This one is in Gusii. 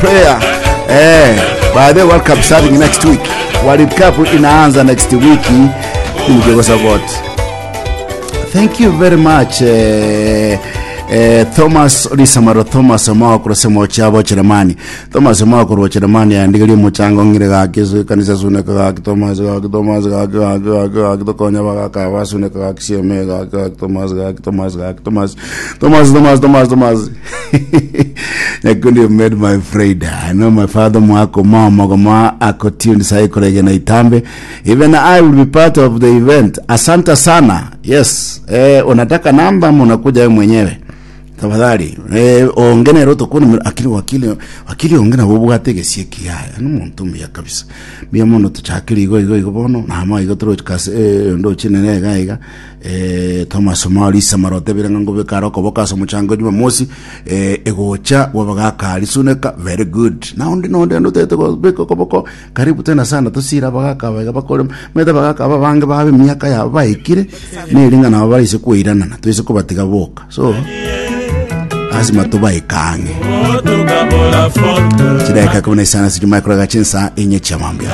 Prayer. Eh, by the World Cup starting next week. World Cup inaanza next week. Nimego support. Thank you very much. Eh, eh, Thomas Lisamaro Thomas Omao kurose mochabo Chiramani. Thomas Omao korwa Chiramani andigerie mochango ng'ire gaki ase ekanisa suneka gaki Thomas gaki Thomas gaki gaki gaki gaki tokonya bagaka basuneka gaki sieme gaki gaki Thomas gaki Thomas gaki Thomas Thomas Thomas Thomas Thomas Nyakundi you made my Friday. I know my father mwako mama goma ako tuned sai kuregena itambe. Even I will be part of the event. Asante sana. Yes. Eh, unataka namba ama unakuja wewe mwenyewe? Tafadhali. Eh, ongene roto kuni akili wakili wakili ongene bobwate gesie kiaya. Anu muntu mbuya kabisa. Mbuya mono tuchakiri igo igo igo bono na ama igo toro kase eh, ndo chinene iga iga. Eh, Thomas Omari Samaro otebire ng'a ngobeka are okoboko ase omochango Jumamosi eh, egocha bw'abagaka risuneka very good na onde nonde onde otagete kobeka okoboko karibu tena sana tosire abagaka aba iga bakore omanyete abagaka aba abange babe emiaka yabo baikire neri ng'a nabo baise koiranana toise kobatiga boka so lazima tobaike ang'e chidaeka ikomi na isano ase chimaikorega chinsa enye chia mambia.